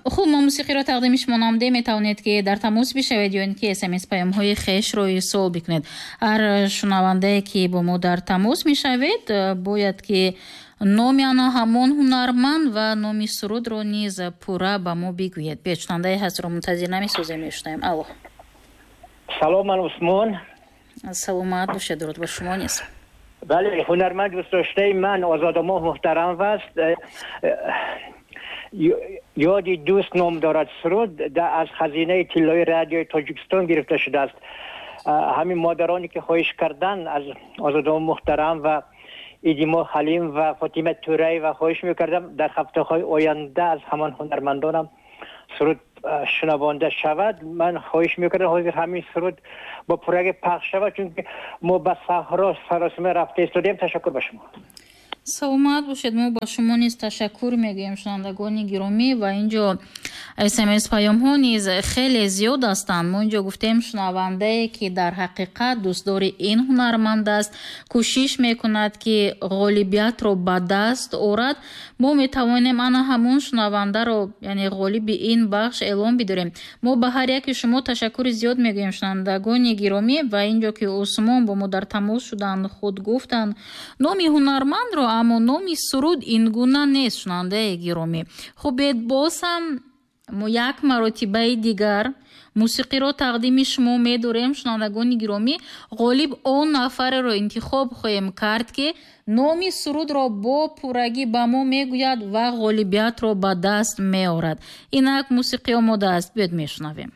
Хуб, мо мусиқиро тақдими шумо намудем. Метавонед, ки дар тамос бишавед ё ин ки СМС паёмҳои хешро ирсол бикунед. Ҳар шунавандае, ки бо мо дар тамос мешавед, бояд ки номи ана ҳамон ҳунарманд ва номи сурудро низ пурра ба мо бигӯед. Биёед, шунавандаи ҳастро мунтазир намесозем, мешунавем. Алло. Салом, ман Усмон. Саломат бошед, дуруд ба шумо низ. Бале, ҳунарманд дӯстдоштаи ман Озодамоҳ муҳтарам аст. «Ёди дӯст» ном дорад суруд, аз хазинаи тиллои Радиои Тоҷикистон гирифта шудааст. Ҳамин модароне ки хоҳиш кардан, аз Озодамоҳ муҳтарам ва Идимо Ҳалим ва Фотима Тураева хоҳиш мекардам, дар ҳафтаҳои оянда аз ҳамон ҳунармандонам суруд шунавонда шавад. Ман хоҳиш мекардам, ҳозир ҳамин суруд бо пурраги пахш шавад, чунки мо ба саҳро саросима рафта истодем. Ташаккур ба шумо. Саломат бошед, мо ба шумо низ ташаккур мегӯем. Шунавандагони гиромӣ, ва инҷо СМС паёмҳо низ хеле зиёд ҳастанд. Мо инҷо гуфтем, шунавандае, ки дар ҳақиқат дӯстдори ин ҳунарманд аст, кӯшиш мекунад, ки ғолибиятро ба даст орад, мо метавонем ана ҳамон шунавандаро, яъне ғолиби ин бахш эълон бидорем. Мо ба ҳар яки шумо ташаккури зиёд мегӯем, шунавандагони гиромӣ. Ва инҷо ки Усмон бо мо дар тамос шуданд, худ гуфтанд номи ҳунармандро, аммо номи суруд ин гуна нест. Шунавандаи гиромӣ, хуб, боз ҳам мо як маротибаи дигар мусиқиро тақдими шумо медорем. Шунавандагони гиромӣ, ғолиб он нафареро интихоб хоҳем кард, ки номи сурудро бо пуррагӣ ба мо мегӯяд ва ғолибиятро ба даст меорад. Инак мусиқӣ омода аст, биёед мешунавем.